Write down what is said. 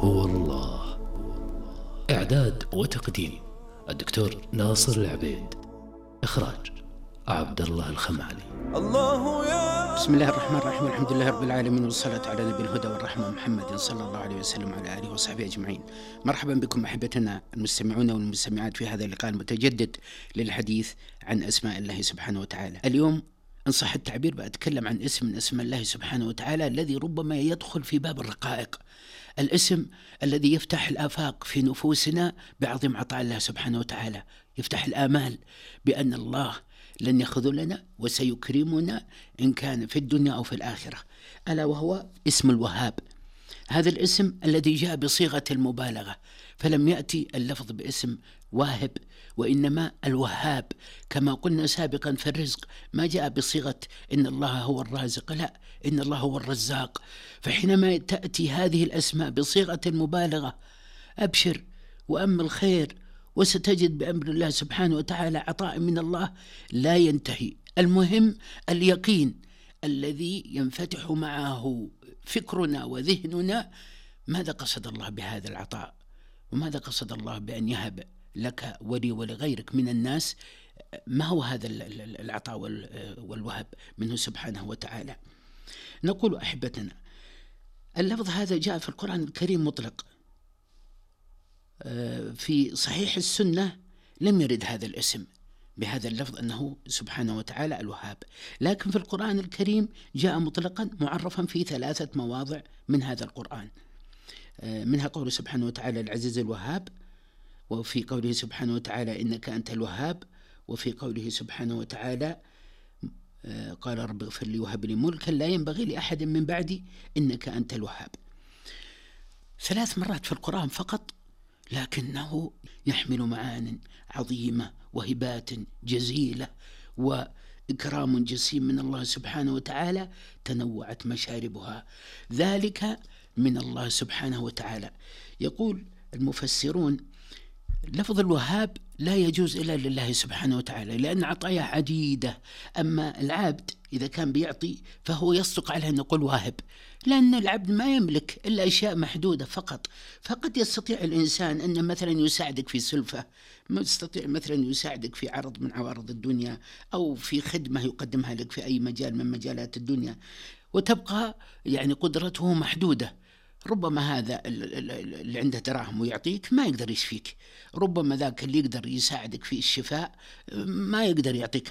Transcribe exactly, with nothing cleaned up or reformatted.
هو الله. إعداد وتقديم الدكتور ناصر العبيد. إخراج عبد الله الخمالي. الله يا بسم الله الرحمن الرحيم. الحمد لله رب العالمين، والصلاة على نبي الهدى والرحمة محمد صلى الله عليه وسلم وعلى آله وصحبه أجمعين. مرحبا بكم أحبتنا المستمعون والمستمعات في هذا اللقاء المتجدد للحديث عن أسماء الله سبحانه وتعالى. اليوم إن صح التعبير بأتكلم عن اسم من أسماء الله سبحانه وتعالى الذي ربما يدخل في باب الرقائق، الاسم الذي يفتح الآفاق في نفوسنا بعظيم عطاء الله سبحانه وتعالى، يفتح الآمال بأن الله لن يخذلنا وسيكرمنا إن كان في الدنيا أو في الآخرة، ألا وهو اسم الوهاب. هذا الاسم الذي جاء بصيغة المبالغة، فلم يأتي اللفظ باسم واهب وإنما الوهاب. كما قلنا سابقا في الرزق ما جاء بصيغة إن الله هو الرازق، لا، إن الله هو الرزاق. فحينما تأتي هذه الأسماء بصيغة المبالغة أبشر وأمل خير، وستجد بأمر الله سبحانه وتعالى عطاء من الله لا ينتهي. المهم اليقين الذي ينفتح معه فكرنا وذهننا، ماذا قصد الله بهذا العطاء، وماذا قصد الله بأن يهب لك ولي ولغيرك من الناس، ما هو هذا العطاء والوهب منه سبحانه وتعالى. نقول أحبتنا اللفظ هذا جاء في القرآن الكريم مطلق، في صحيح السنة لم يرد هذا الاسم بهذا اللفظ أنه سبحانه وتعالى الوهاب، لكن في القرآن الكريم جاء مطلقا معرفا في ثلاثة مواضع من هذا القرآن، منها قوله سبحانه وتعالى العزيز الوهاب، وفي قوله سبحانه وتعالى إنك أنت الوهاب، وفي قوله سبحانه وتعالى قال رب اغفر لي وهب لي ملكا لا ينبغي لأحد من بعدي إنك أنت الوهاب. ثلاث مرات في القرآن فقط، لكنه يحمل معان عظيمة وهبات جزيلة وإكرام جسيم من الله سبحانه وتعالى تنوعت مشاربها، ذلك من الله سبحانه وتعالى. يقول المفسرون لفظ الوهاب لا يجوز إلا لله سبحانه وتعالى، لأن عطايا عديدة. أما العبد إذا كان بيعطي فهو يصدق عليه أن نقول واهب، لأن العبد ما يملك إلا أشياء محدودة فقط. فقد يستطيع الإنسان أن مثلا يساعدك في سلفة، يستطيع مثلا يساعدك في عرض من عوارض الدنيا، أو في خدمة يقدمها لك في أي مجال من مجالات الدنيا، وتبقى يعني قدرته محدودة. ربما هذا اللي عنده دراهم ويعطيك ما يقدر يشفيك، ربما ذاك اللي يقدر يساعدك في الشفاء ما يقدر يعطيك